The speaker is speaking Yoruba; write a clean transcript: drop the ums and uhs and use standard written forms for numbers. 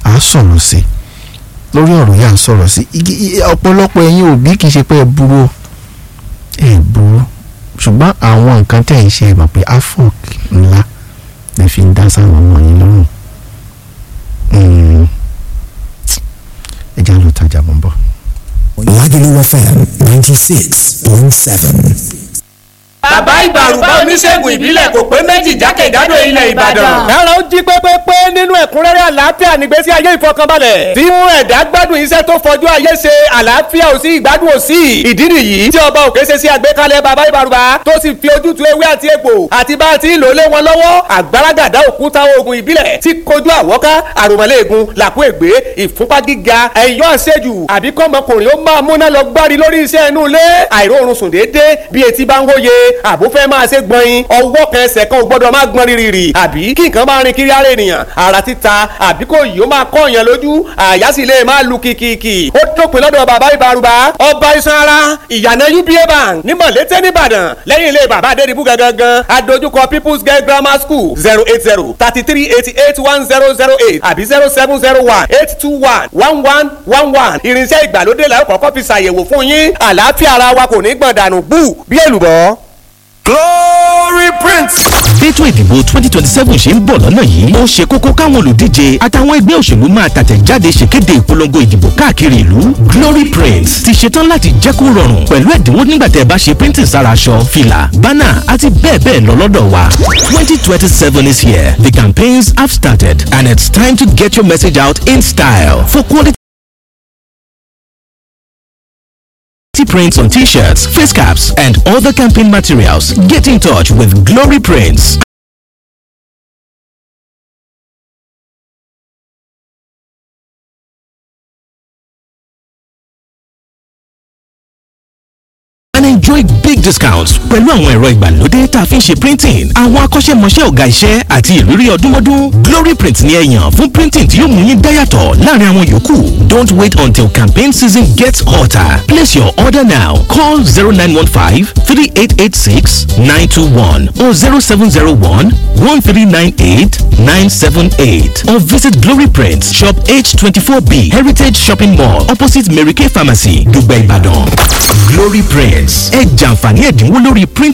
À á sọ̀rọ̀ sí i lórí ọ̀rọ̀ yà ń sọ̀rọ̀ sí i. Ọ̀pọ̀lọpọ̀ ẹ̀yin òbí kì í ṣe pé ẹ burú, ẹ burú, ṣùgbọ́n àwọn nǹkan tẹ̀ ń ṣe, ẹ mọ̀ pé afọ́k ńlá lè fi ń dá sáwọn ọmọ yín lọ́rùn. Ẹ já lọ tajà, mọ́ bọ̀. Lagelu FM 96.7. Bàbá Ìbàrùbá, oníṣègùn ìbílẹ̀ kò pé méjì jákèjádò ilẹ̀ Ìbàdàn. Ẹ̀rọ ń jí pépépé nínú ẹ̀kúnrẹ́rẹ́ àlàáfíà nígbésí ayé ìfọkànbalẹ̀, tí mú ẹ̀dá gbádùn iṣẹ́ tó fọjú ayé ṣe. Àlàáfíà ò sí, ìgbádùn ò sí. Ìdí nìyí tí Ọba Òkè ṣe sí àgbékalẹ̀ Bàbá Ìbàrùbá, tó sì fi ojútùú ewé àti egbò àti bá a ti ń lò lé wọn lọ́wọ́. Àgbàràgàdá òkúta oògùn ìbílẹ̀ tí kojú àwọ́ká, àròmọ̀lẹ́ẹ̀gùn, làkú ègbé, ìfúnpá gíga, ẹ̀yọ́ àṣejù, àbí kọ́mọkùnrin ó máa múná lọ gbárí lórí iṣẹ́ inú ilé, àìróorun sùn déédéé bí etí bá ń wóye, àbò fẹ́ máa ṣe gbọ̀nyin, ọwọ́ kan ẹsẹ̀ kan ò gbọ́dọ̀ máa gbọ́n rírì, àbí kí nǹkan máa rin kiri ara ènìyàn, ara títa, àbí kò yìí ó máa kọ́ èèyàn lójú, àyà sì lè máa lu kìkìkì. Ó dópin lọ́dọ̀ Bàbá Ìbàrùbá, ọba iṣan ara, ìyànà UBA Bank ní Mọ̀lété nìbàdàn, lẹ́yìn ilé Bàbá Adédìbú gangan, adójúkọ People's Girl Grammar School. 08033881008 àbí 07018211111. Irinṣẹ́ ìgbàlódé la ó kọ́kọ́ fi ṣàyẹ̀wò fún yín. Àlàáfíà ara wa kò ní gbọ̀n dànù bú bí èlùbọ́. Glory Prince. Bẹ́tò ìdìbò 2027 ṣe ń bọ̀ lọ́nà yìí, ó ṣe kókó káwọn olùdíje àtàwọn ẹgbẹ́ òṣèlú máa tàtẹ̀jáde ṣèkéde ìpolongo ìdìbò káàkiri ìlú. Glory Prince ti ṣetán láti jẹ́ kó rọrùn pẹ̀lú ẹ̀dínwó nígbà tẹ́ ẹ bá ṣe printing sára aṣọ, fìlà, bánà àti bẹ́ẹ̀ bẹ́ẹ̀ lọ lọ́dọ̀ wa. 2027 is here. The campaigns have started and it's time to get your message out in style. For quality prints on t-shirts, face caps, and other campaign materials, get in touch with Glory Prints and enjoy big discounts pẹ̀lú àwọn ẹ̀rọ ìgbàlódé tá a fi ń ṣe printing, àwọn akọ́ṣẹ́mọṣẹ́ ọ̀gá iṣẹ́ àti ìrírí ọdúnmọ́dún. Glory Print ni ẹ yàn fún printing tí yóò mú yín dáyàtọ̀ láàrin àwọn yòókù. Don't wait until campaign season gets hotter. Place your order now. Call 0915 3886 921 or 0701 1398 978 or visit Glory Print Shop H24B, Heritage Shopping Mall, opposite Mary Kay Pharmacy, Dùgbẹ̀, Ìbàdàn. Glory Prints, ẹ jàǹfààní ẹ̀dínwó lórí print.